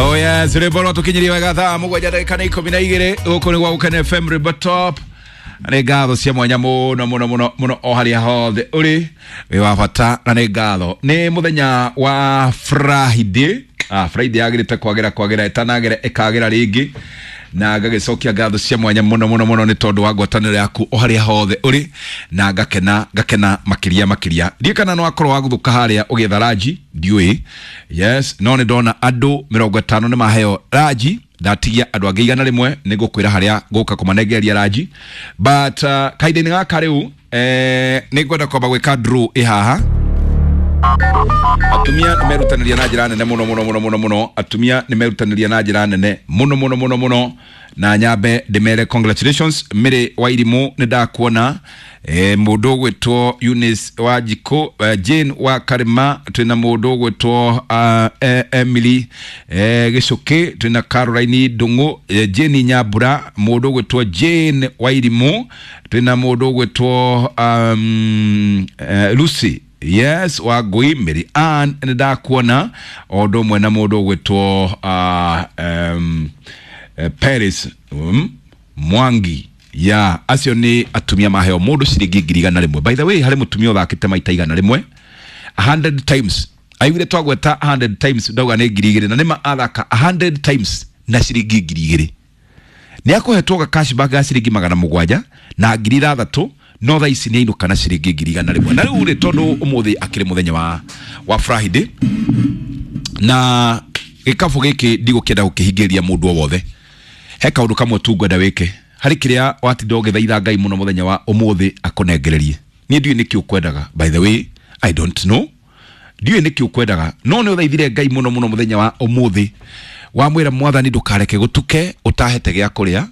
Oh yes, rwĩmbo rwatũkinyirie wega thaa mũgwanja ndagĩka nĩ ikũmi na igĩrĩ gũkũ nĩ gwa Gũkena FM rwĩmbo top. Nĩ ngatho cia mwanya mũno mũno mũno mũno o harĩa hothe ũrĩ wĩ wa bata na nĩ ngatho. Nĩ mũthenya wa Friday. Friday yagĩrĩte kwagĩra kwagĩra ĩtanagĩra ĩkagĩra rĩngĩ na ngagĩcokia ngatho cia mwanya mũno mũno mũno nĩ tondũ wa ngwatanĩro yaku o harĩa hothe ũrĩ na ngakena ngakena makĩria makĩria. Ndiũĩ kana nĩ wakorwo waguthũka harĩa ũgĩetha ranji, ndiũĩ. Yes, no nĩ ndona andũ 50 nĩ maheo ranji, ndatigia andũ angĩ 100 nĩ ngũkwĩra harĩa ngũka kũmanengereria ranji, but kahinda-inĩ gaka rĩu nĩ ngwenda kwamba gwĩka draw ĩ haha. Atumia nĩ merutanĩria na njĩra nene mũno mũno mũno mũno mũno. Atumia nĩ merutanĩria na njĩra nene mũno mũno mũno mũno, na nyambe ndĩmere congratulations. Mary Wairimũ nĩ ndakuona, mũndũ ũgwĩtwo Eunice Wanjikũ, Jane wa Karima, twĩna mũndũ ũgwĩtwo Emily Gĩcũkĩ, twĩna Caroline Ndung'u, Jane Nyambura, mũndũ ũgwĩtwo Jane Wairimũ, twĩna mũndũ ũgwĩtwo Lucy yes Wangui, Mary Ann nĩ ndakuona, o ũndũ ũmwe na mũndũ ũgwĩtwo Paris Mwangi. Ya acio nĩ atumia maheo mũndũ ciringi 100,000. By the way, harĩ mũtumia ũthakĩte maita 100, 100 times. Aiguire twagweta 100 times ndauga nĩ 2,000, na nĩma athaka 100 times na ciringi 2,000. Nĩ akũhetwo ga cashback ga ciringi 700 na 6,000, no thaa ici nĩ ainũka na ciringi 100,000. Na rĩu rĩ, tondũ ũmũthĩ akĩrĩ mũthenya wa Friday na gĩkabũ gĩkĩ ndigũkĩenda gũkĩhingĩrĩria mũndũ o wothe, he kaũndũ kamwe tu ngwenda wĩke harĩ kĩrĩa watinda ũgĩthaitha Ngai mũno mũthenya wa ũmũthĩ akũnengererie. Niĩ ndiũĩ nĩkĩ ũkwendaga, by the way, I don't know, ndiũĩ nĩkĩ ũkwendaga, no nĩ ũthaithire Ngai mũno mũno mũthenya wa ũmũthĩ, wamwĩra Mwathani ndũkareke gũtuke ũtahete gĩa kũrĩa,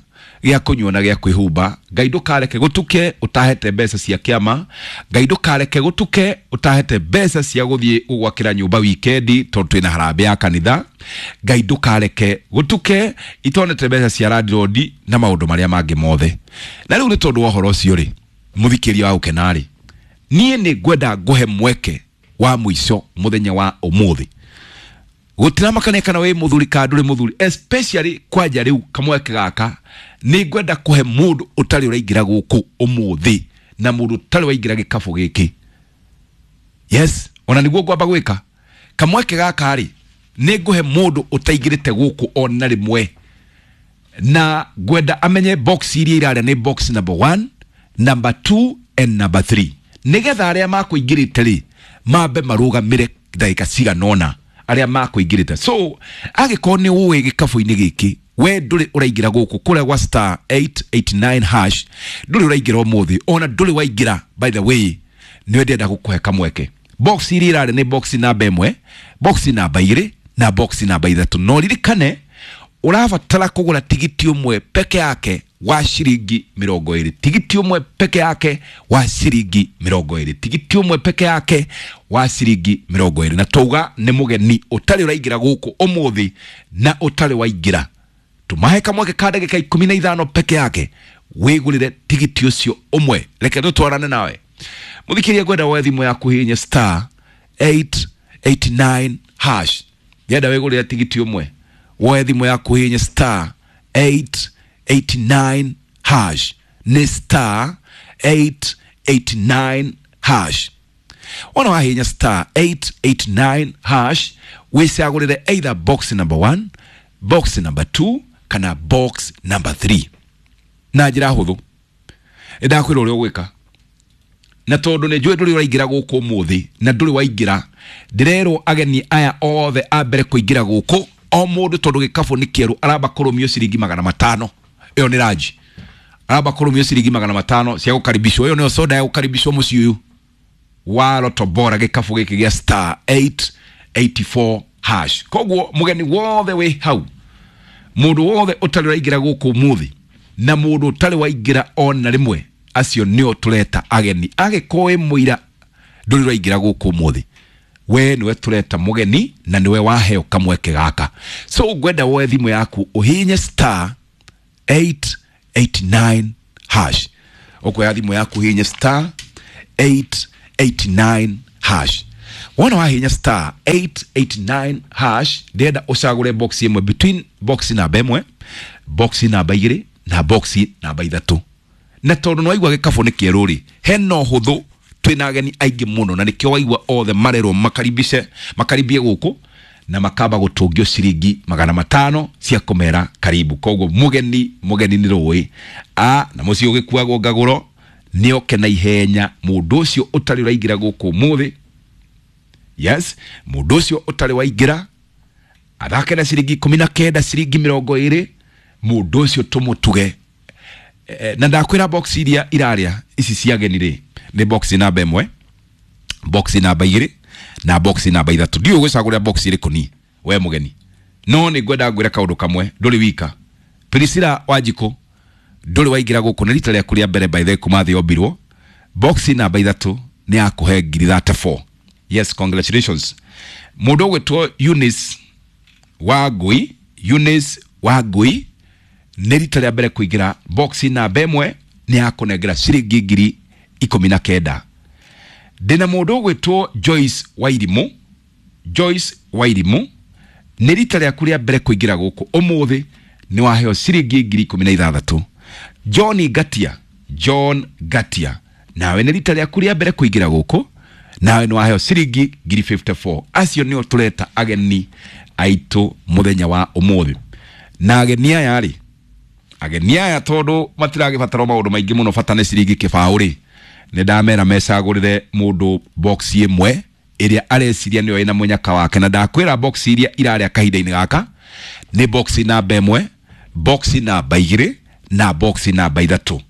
gĩa kũnyua na gĩa kwĩhumba. Ngai ndũkareke gũtuke ũtahete mbeca cia kĩama. Ngai ndũkareke gũtuke ũtahete mbeca cia gũthiĩ gũgwakĩra nyũmba wikendi tondũ twĩna harambee ya kanitha. Ngai ndũkareke gũtuke itonete mbeca cia landlord na maũndũ marĩa mangĩ mothe. Na rĩu nĩ tondũ wa ũhoro ũcio rĩ, mũthikĩria wa Gũkena rĩ, niĩ nĩ ngwenda ngũhe mweke wa mũico mũthenya wa ũmũthĩ. Gũtiramakania kana wĩ mũthuri kana ndũrĩ mũthuri, especially kwanja rĩu kamweke gaka nĩ ngwenda kũhe mũndũ ũtarĩ ũraingĩra gũkũ ũmũthĩ na mũndũ ũtarĩ waingĩra gĩkabũ gĩkĩ. Yes, ona nĩguo ngwamba gwĩka kamweke gaka rĩ, nĩ ngũhe mũndũ ũtaingĩrĩte gũkũ ona rĩmwe, na ngwenda amenye box iria irarĩa nĩ box number 1, number 2 and number 3, nĩgetha arĩa makũingĩrĩte rĩ mambe marũgamĩre ndagĩka cigana ũna arĩa makũingĩrĩte. So angĩkorwo nĩ ũĩ gĩkabũ-inĩ gĩkĩ we ndũrĩ ũraingĩra gũkũ kũrĩa gwa star 889 hash, ndũrĩ ũraingĩra ũmũthĩ, ona ndũrĩ waingĩra, by the way, nĩwe ndĩrenda gũkũhe kamweke. Box iria irarĩ nĩ box namba 1, box namba 2 na box namba 3. No ririkane ũrabatara kũgũra tigiti ũmwe peke yake wa ciringi 20, tigiti ũmwe peke yake wa ciringi 20, tigiti ũmwe peke yake wa ciringi 20. Na tauga nĩ mũgeni ũtarĩ ũraingĩra gũkũ ũmũthĩ na ũtarĩ waingĩra, tũmahe kamweke ka ndagĩka 15 peke yake wĩgũrĩre tigiti ũcio ũmwe. Reke tũtwarane nawe mũthikĩria, ngwenda woe thimũ yaku hihinye star 889 hash. Ngenda wĩgũrĩre tigiti ũmwe, woe thimũ yaku hihinye star 889 hash, nĩ star 889 hash. Wona wahihinya star 889 hash, wĩcagũrĩre either box number 1, box number 2 kana box number 3 na njĩra hũthũ. Nĩndakwĩra ũrĩa ũgwĩka, na tondũ nĩ njũĩ ndũrĩ ũraingĩra gũkũ ũmũthĩ na ndũrĩ waingĩra, ndĩrerwo ageni aya othe a mbere kũingĩra gũkũ o mũndũ, tondũ gĩkabũ nĩ kĩerũ, aramba kũrũmio ciringi 500. Ĩyo nĩ ranji, aramba kũrũmio ciringi 500 cia gũkaribishwo. Ĩyo nĩyo soda ya gũkaribishwo mũciĩ ũyũ wa Lotto Bora, gĩkabũ gĩkĩ gĩa star 884 hash. Koguo mũgeni wothe wĩ hau, mũndũ wothe ũtarĩ ũraingĩra gũkũ ũmũthĩ na mũndũ ũtarĩ waingĩra ona rĩmwe, acio nĩo tũreta ageni. Angĩkorwo wĩ mũira ndũrĩ ũraingĩra gũkũ ũmũthĩ, we nĩwe tũreta mũgeni na nĩwe waheo kamweke gaka. So ngwenda woe thimũ yaku ũhihinye star 889 hash. Ũkuoya thimũ yaku ũhihinye star 889 hash. Wona wahinya star 889 hash, ndĩrenda ũcagũre box ĩmwe between box namba ĩmwe, box namba igĩrĩ na box namba ithatũ. Na tondũ nĩ waigua gĩkabũ nĩ kĩerũ rĩ, hena ũhũthũ, twĩna ageni aingĩ mũno, na nĩkĩo waigua othe marerwo makaribishe, makaribie gũkũ na makamba gũtũngio ciringi 500 cia kũmera karibu. Koguo mũgeni, mũgeni nĩ rũĩ a na mũciĩ ũgĩkuagwo ngagũro nĩoke na ihenya. Mũndũ ũcio ũtarĩ ũraingĩra gũkũ ũmũthĩ, yes, mũndũ ũcio ũtarĩ waingĩra athake na ciringi 19, ciringi 20, mũndũ ũcio tũmũtuge. Na ndakwĩra box iria irarĩa ici cia ageni rĩ, nĩ box namba ĩmwe, box namba igĩrĩ na box namba ithatũ. Ndiũĩ ũgũcagũrĩra box ĩrĩkũ ni we mũgeni, no nĩ ngwenda ngwĩre kaũndũ kamwe, ndũrĩ wika. Priscilla Wanjikũ, ndũrĩ waingĩra gũkũ, nĩ rita rĩaku rĩa mbere by the way kuma thĩ yombirwo. Box namba ithatũ nĩ yakũhe ngiri 34. Yes, congratulations. Mũndũ ũgwĩtwo Eunice Wangui, Eunice Wangui, nĩ rita rĩa mbere kũingĩra, box namba ĩmwe nĩ yakũnengera ciringi ngiri 19. Ndĩna mũndũ ũgwĩtwo Joyce Wairimũ, Joyce Wairimũ, nĩ rita rĩaku rĩa mbere kũingĩra gũkũ ũmũthĩ, nĩ waheo ciringi ngiri 16. John Ngatia, John Ngatia, nawe nĩ rita rĩaku rĩa mbere kũingĩra gũkũ, nawe nĩ waheo ciringi ngiri 54. Acio nĩo tũreta ageni aitũ mũthenya wa ũmũthĩ. Na ageni aya rĩ, ageni aya tondũ matiragĩbatara maũndũ maingĩ mũno, bata nĩ ciringi kĩbaũ rĩ, nĩ ndamera mecagũrĩre mũndũ box ĩmwe ĩrĩa areciria nĩyo ĩna mũnyaka wake. Na ndakwĩra box iria irarĩa kahinda-inĩ gaka nĩ box namba ĩmwe, box namba igĩrĩ na box namba ithatũ.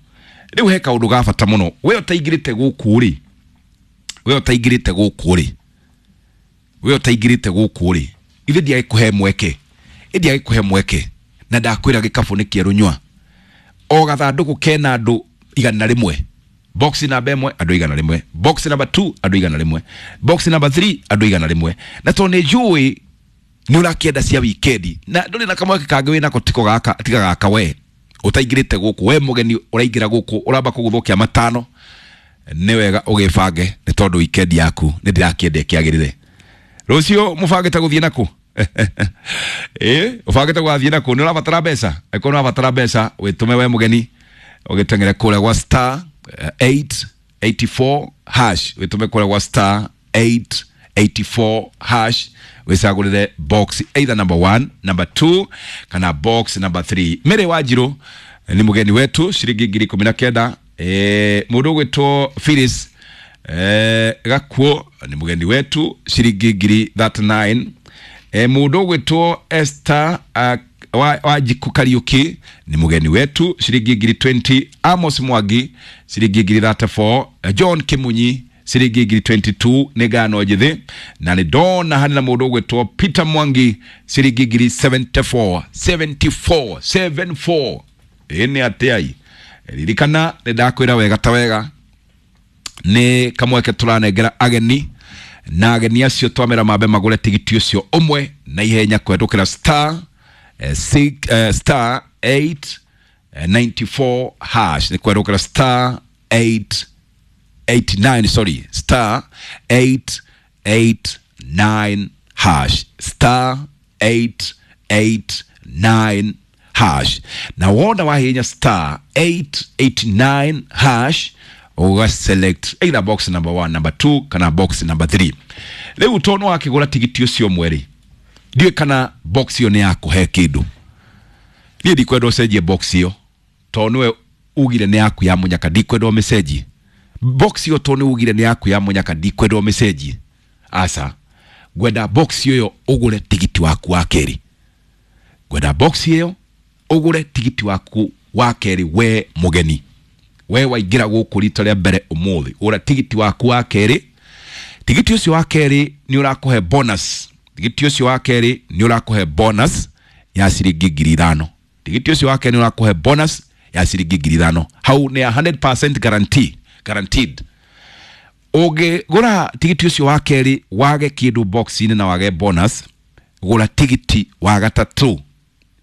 Rĩu he kaũndũ ga bata mũno, we ũtaingĩrĩte gũkũ rĩ, we ũtaingĩrĩte gũkũ rĩ, we ũtaingĩrĩte gũkũ rĩ, ithe ndiagĩkũhe mweke, ndiagĩkũhe mweke. Na ndakwĩra gĩkabũ nĩ kĩerũ nyua, o gathandũkũ kena andũ 100. Box namba ĩmwe andũ 100, box namba 2 andũ 100, box namba 3 andũ 100. Na tondũ nĩ njũĩ nĩ ũrakĩenda cia wikendi na ndũrĩ na kamweke kangĩ wĩnako tiko gaka, tiga gaka, we ũtaingĩrĩte gũkũ, we mũgeni ũraingĩra gũkũ ũramba kũgũthũkia matano, nĩ wega ũgĩbange nĩ tondũ wikendi yaku nĩ ndĩrakĩenda ĩkĩagĩrĩre. Rũciũ mũbangĩte gũthiĩ nakũ? Ĩ ũbangĩte gũgathiĩ nakũ? Nĩ ũrabatara mbeca? Angĩkorwo nĩ ũrabatara mbeca, wĩtũme we mũgeni ũgĩteng'ere kũrĩa gwa star 884 hash, wĩtũme kũrĩa gwa star 884 hash, wĩcagũrĩre box either number 1, number 2 kana box number 3. Mary Wanjirũ nĩ mũgeni wetu, ciringi ngiri 19. Mũndũ ũgwĩtwo Phyllis Gakuo nĩ mũgeni wetu, ciringi ngiri 39. Mũndũ ũgwĩtwo Esther Wanjikũ Kariũki nĩ mũgeni wetu, ciringi ngiri 20. Amos Mwangi ciringi ngiri 34. John Kimunyi ciringi ngiri 22 nĩ ngano njĩthĩ. Na nĩ ndona harĩ na mũndũ ũgwĩtwo Peter Mwangi ciringi ngiri 74, 74, 74. Ĩ nĩ atĩai, ririkana nĩ ndakwĩra wega ta wega nĩ kamweke tũranengera ageni, na ageni acio twamera mambe magũre tigiti ũcio ũmwe na ihenya kũhetũkĩra star six, star 894 hash, nĩ kũhetũkĩra star 889, sorry, star 889 hash, star 889 hash. Na wona wahinya star 889 hash, uga select either box number 1, number 2 kana box number 3. Rĩu tondũ wakĩgũra tigiti ũcio ũmwe rĩ, ndiũĩ kana box ĩyo nĩ yakũhe kĩndũ. Niĩ ndikwenda ũcenjie box ĩyo tondũ nĩwe ugire nĩ yaku ya mũnyaka, ndikwenda ũmĩcenjie box ĩyo tondũ nĩ ugire nĩ yaku ya mũnyaka, ndikwenda ũmĩcenjie. Aca, ngwenda box ĩyo ũgũre tigiti waku wa kerĩ, ngwenda box ĩyo ũgũre tigiti waku wa kerĩ. We mũgeni, we waingĩra gũkũ rita rĩa mbere ũmũthĩ, gũra tigiti waku wa kerĩ. Tigiti ũcio wa kerĩ nĩ ũrakũhe bonus, tigiti ũcio wa kerĩ nĩ ũrakũhe bonus ya ciringi ngiri 5. Tigiti ũcio wa kerĩ nĩ ũrakũhe bonus ya ciringi ngiri 5. Hau nĩ 100% guarantee, guaranteed. Ũngĩgũra tigiti ũcio wa kerĩ wage kĩndũ box-inĩ na wage bonus, gũra tigiti wa gatatũ.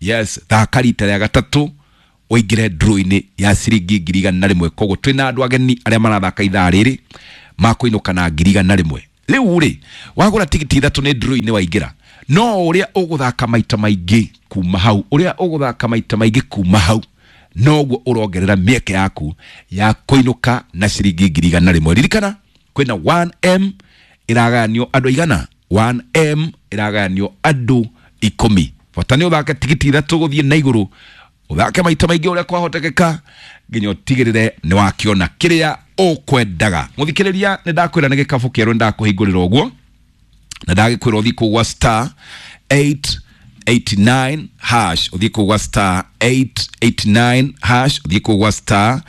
Yes, thaka rita rĩa gatatũ ũingĩre draw-inĩ ya ciringi ngiri 100. Koguo twĩna andũ ageni arĩa marathaka ithaa rĩrĩ makũinũka na ngiri 100. Rĩu rĩ, wagũra tigiti ithatũ nĩ draw-inĩ waingĩra, no ũrĩa ũgũthaka maita maingĩ kuma hau, ũrĩa ũgũthaka maita maingĩ kuma hau, noguo ũrongerera mĩeke yaku ya kũinũka na ciringi 100,000. Ririkana kwĩna 1M ĩragayanio andũ aigana, 1M ĩragayanio andũ 10. Bata nĩ ũthake tigiti ithatũ gũthiĩ na igũrũ, ũthake maita maingĩ ũrĩa kwahotekeka nginya ũtigĩrĩre nĩ wakĩona kĩrĩa ũkwendaga. Mũthikĩrĩria, nĩ ndakwĩra nĩ gĩkabũ kĩerũ nĩ ndakũhingũrĩra ũguo, na ndagĩkwĩra ũthiĩ kũu gwa star 889 hash, ũthiĩ kũu gwa star 889 hash, ũthiĩ kũu gwa star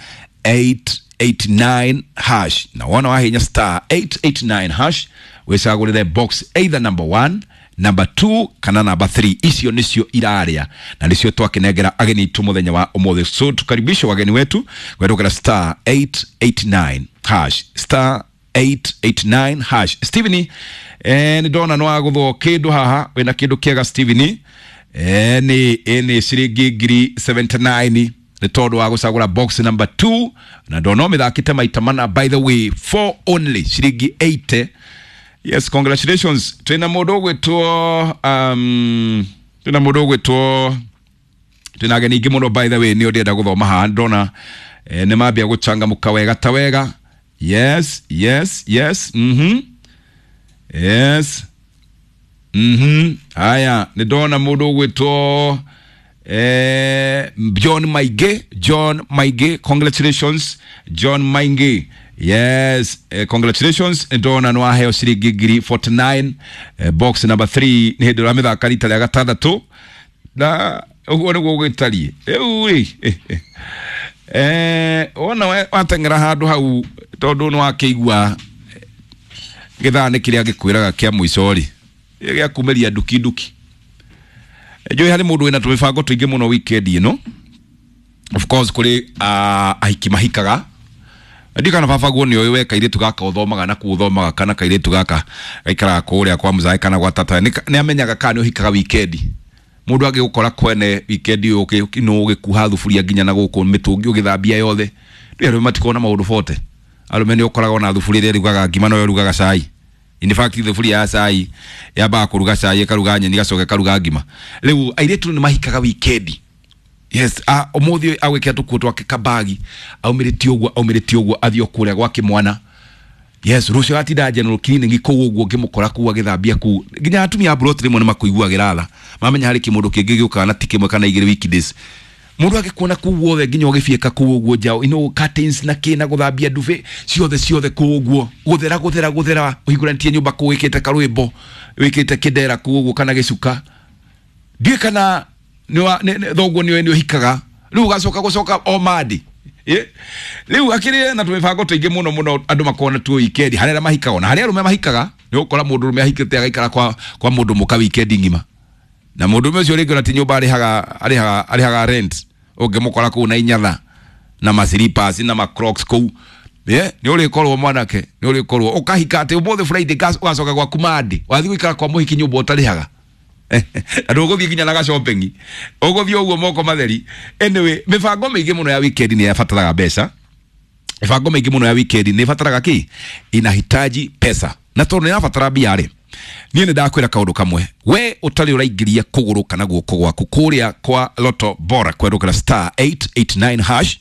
889 hash, na wona wahinya star 889 hash wĩcagũrĩre box either number 1, number 2 kana number 3. Icio nicio iraria na nicio twakinengera ageni itu muthenya wa umuthi. So tukaribishe wageni wetu gwetũkĩra star 889 hash, star 889 hash. Steven, nĩ ndona nĩ wagũthwo kĩndũ haha, wĩna kĩndũ kĩega Steven. Nĩ ciringi 79,000 nĩ tondũ wa gũcagũra box number 2, na ndona ũmĩthakĩte maita mana, by the way 4 only, ciringi 80. Yes, congratulations. Twina mũndũ ũgwĩtwo twina mũndũ ũgwĩtwo, twina ageni aingĩ mũno by the way, nĩ ndĩrenda gũthoma haha, ndona nĩ mambia gũchangamũka wega ta wega. Yes, yes, yes. Yes. Haya, nĩ ndona mũndũ ũgwĩtwo John Maingĩ, John Maingĩ, congratulations John Maingĩ. Yes, congratulations, ndona nĩ waheo ciringi 49,000, box number 3 nĩ hĩndĩ ũramĩthaka rita rĩa gatandatũ, na ũguo nĩguo gũgĩtariĩ rĩu rĩ. Wona wateng'era handũ hau tondũ nĩ wakĩigua gĩthaa nĩ kĩrĩa gĩkwĩraga kĩa mũico rĩ, gĩa kumĩria nduki nduki. Njũĩ harĩ mũndũ wĩna tũmĩbango tũingĩ mũno weekend ĩno. Of course kũrĩ ahiki mahikaga. Ndiũ kana baba guo nĩ ũĩ we kairĩtu gaka ũthomaga na kũu ũthomaga, kana kairĩtu gaka gaikaraga kũrĩa kwa mũzae kana gwa tata, nĩ amenyaga kana nĩ ũhikaga weekend. Mũndũ angĩgũkora kwene weekend ũyũ no ũgĩkuha thuburia nginya na gũkũ mĩtũngi ũgĩthambia yothe. Ndũĩ arũme matikoragwo na maũndũ bote. Arũme nĩ ũkoragwo na thuburia ĩrĩa ĩrugaga ngima no ĩrugaga cai. In fact thuburia ya cai yambaga kũruga cai, ĩkaruga nyeni, ĩgacoka ĩkaruga ngima. Rĩu airĩtu nĩ mahikaga weekend. Yes, ũmũthĩ agwĩkĩra tũkuo twake kabagi, aumĩrĩtie ũguo, aumĩrĩtie ũguo, athiĩ o kũrĩa gwake mwana. Yes, rũciũ atinda general clinic kũu ũguo ngĩmũkora kũu agĩthambia kũu. Nginya atumia a plot rĩmwe nĩ makũiguagĩra tha, mamenya harĩ kĩmũndũ kĩngĩ gĩũkaga na ti kĩmwe kana igĩrĩ weekdays. Mũndũ agĩkuona kũu guothe nginya ũgĩbiĩka kũu ũguo nja, curtains na kĩ na gũthambia ndube ciothe ciothe kũu ũguo, gũthera gũthera gũthera, ũhingũranĩtie nyũmba kũu wĩkĩte karwĩmbo, wĩkĩte kĩndera kũu ũguo kana gĩcuka. Ndiũĩ kana thoguo nĩ nĩ ũhikaga rĩu ũgacoka gũcoka o mandi. Rĩu akĩrĩ na tũmĩbango tũingĩ mũno mũno andũ makoragwo na tuo weekend, harĩa arĩa mahikaga na harĩa arũme mahikaga, nĩ ũgũkora mũndũ ũrũme ahikĩte agaikara kwa mũndũ mũka weekend ng'ima, na mũndũ ũmwe ũcio rĩngĩ ona ti nyũmba arĩhaga rent, ũngĩmũkora kũu na inyatha na ma slippers na ma crocs kũu. Nĩ ũrĩkorwo mwanake, nĩ ũrĩkorwo ũkahika atĩ ũmũthĩ Friday ũgacoka gwaku Monday, wathiĩ gũikara kwa mũhiki nyũmba ũtarĩhaga. Na ndũgũthiĩ nginya na ga-shopping, ũgũthiĩ ũguo moko matheri. Anyway, mĩbango mĩingĩ mũno ya weekend nĩ yabataraga mbeca. Mĩbango mĩingĩ mũno ya weekend nĩ ĩbataraga kĩ? Inahitaji pesa. Na tondũ nĩ ĩrabatara mbia rĩ, niĩ nĩ ndakwĩra kaũndũ kamwe, we ũtarĩ ũraingĩria kũgũrũ kana guoko gwaku kũrĩa kwa Lotto Bora kwerũkĩra star 889 hash,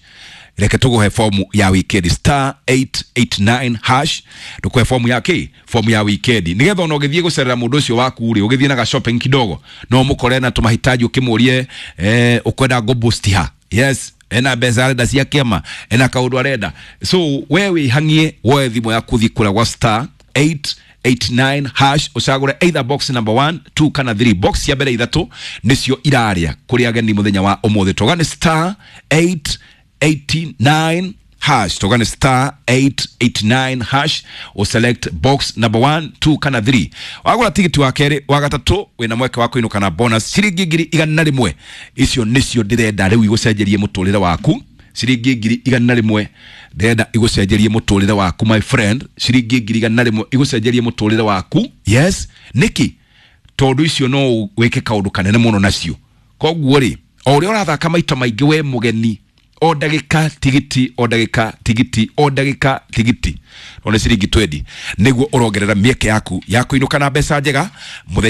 reke tũgũhe fomu ya weekend, star 889 hash, tũkũhe fomu ya kĩ? Fomu ya weekend, nĩgetha ona ũgĩthiĩ gũcerera mũndũ ũcio waku rĩ, ũgĩthiĩ na ga shopping kidogo, no mũkore na tũmahitaji ũkĩmũrie, ũkwenda ngũ-boost ha? Yes, ena mbeca arenda cia kĩama, ena kaũndũ arenda. So we wĩhang'ie, woe thimũ yaku ũthiĩ kũrĩa gwa star 889 hash, ũcagũre either box number 1, 2 kana 3. Box cia mbere ithatũ nĩcio iraria kũrĩ ageni mũthenya wa ũmũthĩ. Toga nĩ star 889 hash, toga nĩ star 889 hash, ũselect box number 1, 2 kana 3. Wagũra tigiti wa kerĩ, wa gatatũ, wĩna mweke wa kũinũka na bonus ciringi 100,000. Icio nĩcio ndĩrenda rĩu igũcenjerie mũtũrĩre waku. Ciringi 100,000 ndĩrenda igũcenjerie mũtũrĩre waku, my friend. Ciringi 100,000 igũcenjerie mũtũrĩre waku. Yes, nĩkĩ? Tondũ icio no wĩke kaũndũ kanene mũno nacio. Koguo rĩ, o ũrĩa ũrathaka maita maingĩ we mũgeni, O ndagĩka tigiti, o ndagĩka tigiti, o ndagĩka tigiti, one ciringi 20 nĩguo ũrongerera mĩeke yaku ya kũinũka na mbeca njega mũthenya.